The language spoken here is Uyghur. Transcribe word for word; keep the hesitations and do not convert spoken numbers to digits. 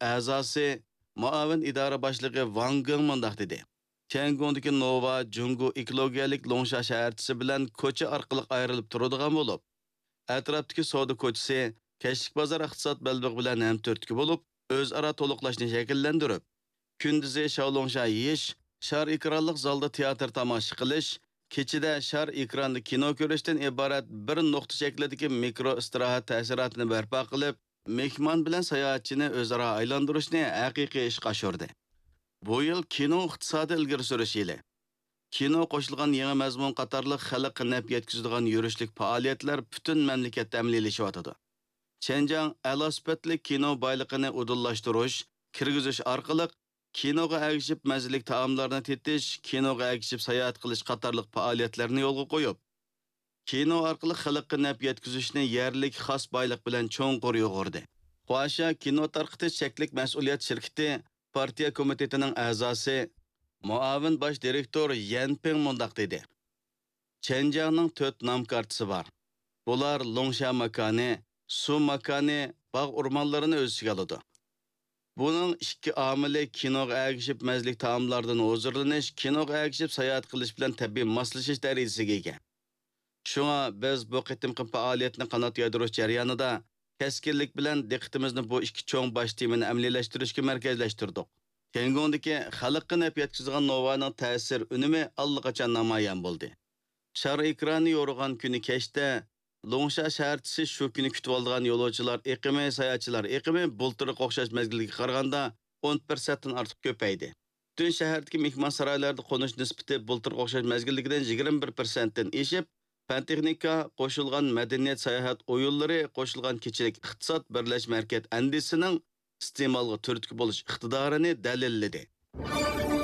ئەزاسى، مۇئاۋىن ئىدارە باشلىقى ۋاڭ گېڭ مۇنداق دېدى: تيەنگوڭدىكى نوۋا جۇڭگو ئېكولوگىيەلىك لوڭشا شەھەرچىسى بىلەن كوچا ئارقىلىق ئايرىلىپ تۇرىدىغان بولۇپ، ئەتراپتىكى سودا كوچىسى، كەچلىك بازار ئىقتىساد بەلبېغى بىلەن ھەمتۈرتكە بولۇپ، ئۆزئارا تولۇقلاشنى شەكىللەندۈرۈپ، كۈندۈزى شاۋلۇڭشا يېيىش، شار ئېكرانلىق زالدا تىياتىر تاماشا قىلىش، كېچىدە شار ئېكراندا كىنو كۆرۈشتىن ئىبارەت بىر نۇقتا شەكلىدىكى مىكرو ئىستىراھەت تەسىراتىنى بەرپا قىلىپ، مېھمان بىلەن ساياھەتچىنى ئۆزئارا ئايلاندۇرۇشنى ھەقىقىي ئىشقا ئاشۇردى. بۇ يىل كىنو ئىقتىسادى ئىلگىرى سۈرۈش يىلى. كىنو قوشۇلغان يېڭى مەزمۇن قاتارلىق خەلققە نەپ يەتكۈزىدىغان يۈرۈشلۈك پائالىيەتلەر پۈتۈن مەملىكەتتە ئەمەلىيلىشىۋاتىدۇ. چېنجياڭ ئەلا سۈپەتلىك كىنو بايلىقىنى ئۇدۇللاشتۇرۇش، كىرگۈزۈش ئارقىلىق كىنوغا ئەگىشىپ مەززىلىك تائاملارنى تېتىش، كىنوغا ئەگىشىپ ساياھەت قىلىش قاتارلىق پائالىيەتلەرنى يولغا قويۇپ، كىنو ئارقىلىق خەلققە نەپ يەتكۈزۈشنى يەرلىك خاس بايلىق بىلەن چوڭقۇر يۇغۇردى. خۇاشيا كىنو تارقىتىش چەكلىك مەسئۇلىيەت شىركىتى پارتىيە كومىتېتىنىڭ ئەزاسى، مۇئاۋىن باش دىرېكتور يەن پىڭ مۇنداق دېدى: چەنجياڭنىڭ تۆت نام كارتىسى بار. بۇلار لوڭشا ماكانى، سۇ ماكانى، باغ ئورمانلىرىنى ئۆز ئىچىگە ئالىدۇ. بۇنىڭ ئىككى ئامىلى كىنوغا ئەگىشىپ مەززىلىك تائاملاردىن ھۇزۇرلىنىش، كىنوغا ئەگىشىپ ساياھەت قىلىش بىلەن تەبىئىي ماسلىشىش دەرىجىسىگە ئىگە. شۇڭا بىز بۇ قېتىمقى پائالىيەتنى قانات يايدۇرۇش جەريانىدا كەسكىنلىك بىلەن دىققىتىمىزنى بۇ ئىككى چوڭ باش تېمىنى ئەمەلىيلەشتۈرۈشكە مەركەزلەشتۈردۇق. تيەنگوڭدىكى خەلققە نەپ يەتكۈزىدىغان نوۋانىڭ تەسىر ئۈنۈمى ئاللىقاچان نامايان بولدى. شار ئېكرانى يورۇغان كۈنى كەچتە لوڭشا شەھەرچىسى شۇ كۈنى كۈتۈۋالىدىغان يولۇچىلار ئېقىمى، ساياھەتچىلەر ئېقىمى بۇلتۇرقىغا ئوخشاش مەزگىلگە قارىغاندا ئون پىرسەنتتىن ئارتۇق كۆپەيدى. پۈتۈن شەھەردىكى مېھمانسارايلاردا قونۇش نىسبىتى بۇلتۇرقىغا ئوخشاش مەزگىلدىكىدىن يىگىرمە بىر پىرسەنتتىن ئېشىپ، پەن-تېخنىكا، قوشۇلغان مەدەنىيەت، ساياھەت ئويۇنلىرى، قوشۇلغان كېچىلىك ئىقتىساد بىرلەشمە ھەرىكەت ئەندىزىسىنىڭ ئىستېمالغا تۈرتكە بولۇش ئىقتىدارىنى دەلىللىدى.